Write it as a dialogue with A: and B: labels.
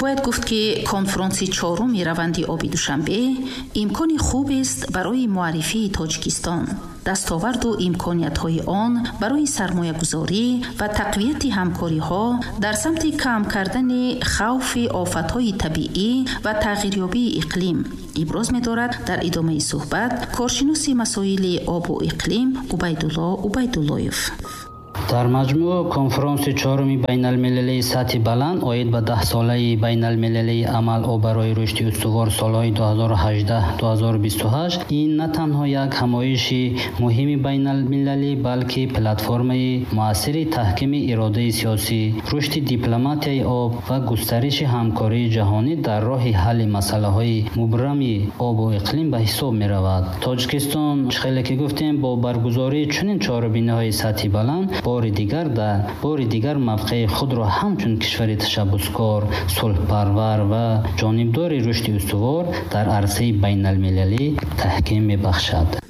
A: Бояд гуфт, ки конфронси чоруми раванди оби Душанбе имкони хубест барои муаррифии Тоҷикистон, дастоварду имкониятҳои он барои сармоягузорӣ ва тақвияти ҳамкориҳо дар самти кам кардани хавфи офатҳои табиӣ ва тағйирёбии иқлим, иброз медорад дар идомаи суҳбат коршиноси масоили обу иқлим Убайдулло Убайдуллоев.
B: Дар маҷмӯъ, конфронси чоруми байналмилалии сатҳи баланд оид ба даҳсолаи байналмилалии амал «Об барои рушди устувор» солҳои 2018-2028 ин на танҳо як ҳамоиши муҳими байналмилалӣ, балки платформаи муассири таҳкими иродаи сиёсӣ, рушди дипломатияи об ва густариши ҳамкории ҷаҳонӣ дар роҳи ҳалли масъалаҳои мубрами обу иқлим ба ҳисоб меравад. Тоҷикистон, чӣ хеле ки гуфтем, бо баргузории чунин чорабиниҳои сатҳи баланд бори дигар мавқеи худро ҳамчун кишвари ташаббускор, сулҳпарвар ва ҷонибдори рушди устувор дар арсаи байналмилалӣ таҳким мебахшад.